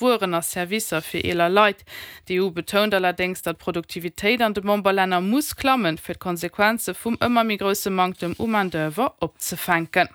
Wueren a Servicer fir eeler Leit. D'EU betount allerdéngs, datt d'Produktivitéit an de Memberlänner muss klammen, fir d'Konsequenze vum ëmmer méi grousse Manktem u Main-d'oeuvre opzefänken.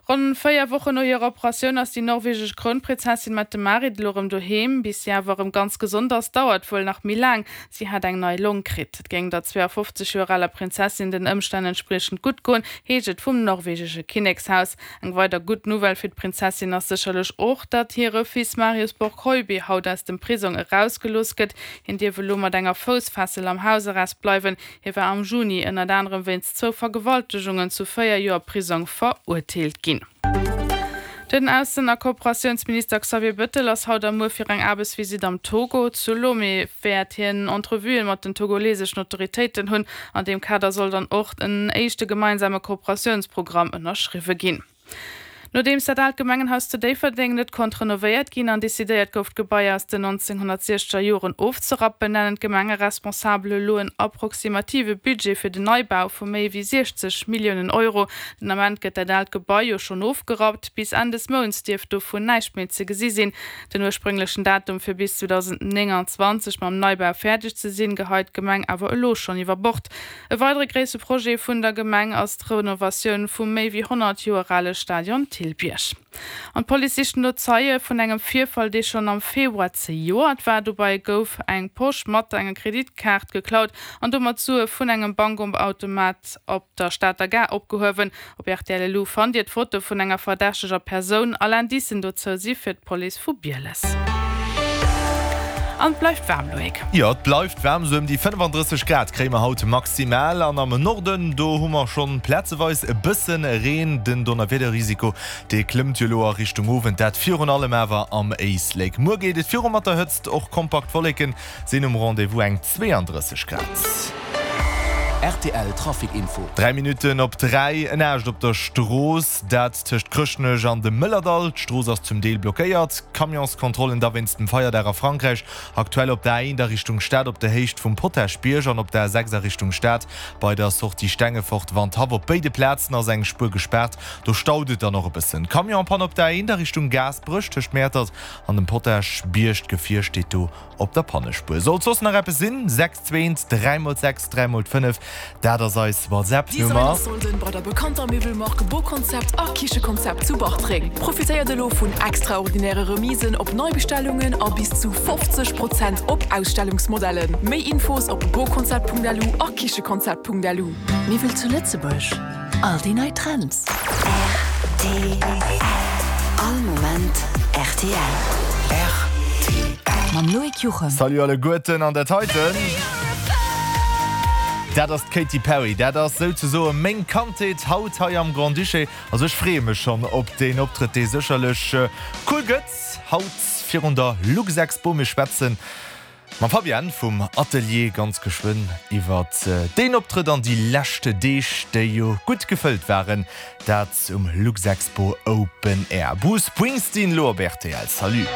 Ronn 4 Wochen no hirer Operatioun ass déi norwegesch Krounprinzessin Mette-Marit elo erëm doheem. Bis si awer erëm ganz gesond ass, dauert wuel nach méi laang. Si hat eng nei Long kritt. Et géing der 52 Joer aler Prinzessin den Ëmstänn entspriechend gutt goen, heescht et vum norwegesche Kinnekshaus. Eng weider gutt Nouvelle fir d'Prinzessin ass sécherlech och, datt hire Fils Marius Borg-Høiby haut aus dem Prisong erausgelooss gëtt. Hien dierf elo mat enger Foussfessel am Hausarrest bleiwen. Hie war am Juni ënnert anerem wéinst zwou Vergewaltegungen zu 4 Joer Prisong verurteelt ginn. Den Aussen a Kooperatiounsminister Xavier Bettel ass haut a muer fir eng Aarbechtsvisitt am Togo. Zu Lomé wäert hien Entrevuen mat den togoleseschen Autoritéiten hunn. An deem Kader soll dann och en éischte gemeinsame Kooperatiounsprogramm ënnerschriwwe ginn. Nodeems dat aalt Gemengenhaus zu Déifferdeng net konnt renovéiert ginn an decidéiert gouf d'Gebai aus den 1960er Joren ofzerappen, nennen d'Gemengeresponsabel elo en approximative Budget fir den Neibau vu méi wéi 60 Milliounen Euro. Den Ament gëtt dat aalt Gebai jo schonn ofgerappt. Bis Enn des Mounts dierft dovun näischt méi ze gesi sinn. Den ursprünglechen Datum fir bis 2029 mam Neibau fäerdeg ze sinn, geheit d'Gemeng awer elo schonn iwwer Bord. E weidere gréisse Projet vun der Gemeng ass d'Renovatioun vum méi wéi 100 Joer ale Stadion Thillbierg. An d'Police sicht no Zeie vun engem Virfall, dee schonn am Februar zejoert war. Dobei gouf eng Posch mat enger Kreditkaart geklaut an domat Sue vun engem Bankautomat op der Stater Gare opgehuewen. Op rtl elu fannt Dir d'Foto vun enger verdächteger Persoun. All Indicen dozou si fir d'Police vu Bieles. An et bleift waarm, Loïc. Jo, et bleift waarm, sou ëm déi 35 Grad kréie mer haut maximal. An am Norden, do hu mer schonn plazeweis e bësse Reen. Den Donnerwiederrisiko, dee klëmmt jo elo a Richtung Owend, dat virun allem awer am Éislek. Muer geet et viru mat der Hëtzt, och kompakt Wolleken Sinn um Rendez-vous eng 32 Grad. Rtl Trafic Info. 3 Minutten op 3, en Aascht op der Strooss, dat tëscht Chrëschtnech an dem Mëllerdall. D'Strooss ass zum Deel blockéiert. Camionskontrollen da wéinst dem Feierdag a Frankräich. Aktuell op der A1 a Richtung Stad op der Héicht vum Potaschbierg an op der A6 a Richtung Stad bei der Sortie Stengefort Wandhaff. Op béide Plazen ass eng Spuer gespaart, do staut et dann och e bëssen. Camionspanne op der A1 a Richtung Gaasperech tëscht Mäertert an dem Potaschbierg. D'Gefier steet do Op der Pannespuer. Sollt soss nach eppes sinn, 6 2 3 mol 6 3 mol 5, dat ass eis WhatsApp-Nummer. Designer-Solden bei der bekannter Miwwelmark Boconcept a Kichekonzept zu Bartreng. Profitéiert elo vun extraordinäre Remisen op Neibestellungen a bis zu 50 Prozent op Ausstellungsmodellen. Méi Infos op boconcept.lu a kichekonzept.lu. Miwwel zu Lëtzebuerg, all déi nei Trends. Rtl. All Moment rtl. Rtl. Mam Loïc Juchem. Salut alleguerten an dat heiten, dat ass d'Katy Perry. Dat ass souzesoe meng Kandheet haut hei am Grand-Duché. Also ech freeë mech schonn op deen Optrëtt, dee sécherlech cool gëtt haut virun der Luxexpo. Mir schwätzen Mam Fabienne vum Atelier ganz geschwënn iwwert deen Optrëtt an déi lescht Deeg, déi jo gutt gefëllt waren, dat um Luxexpo Open Air. Bruce Springsteen lo op rtl. Salut.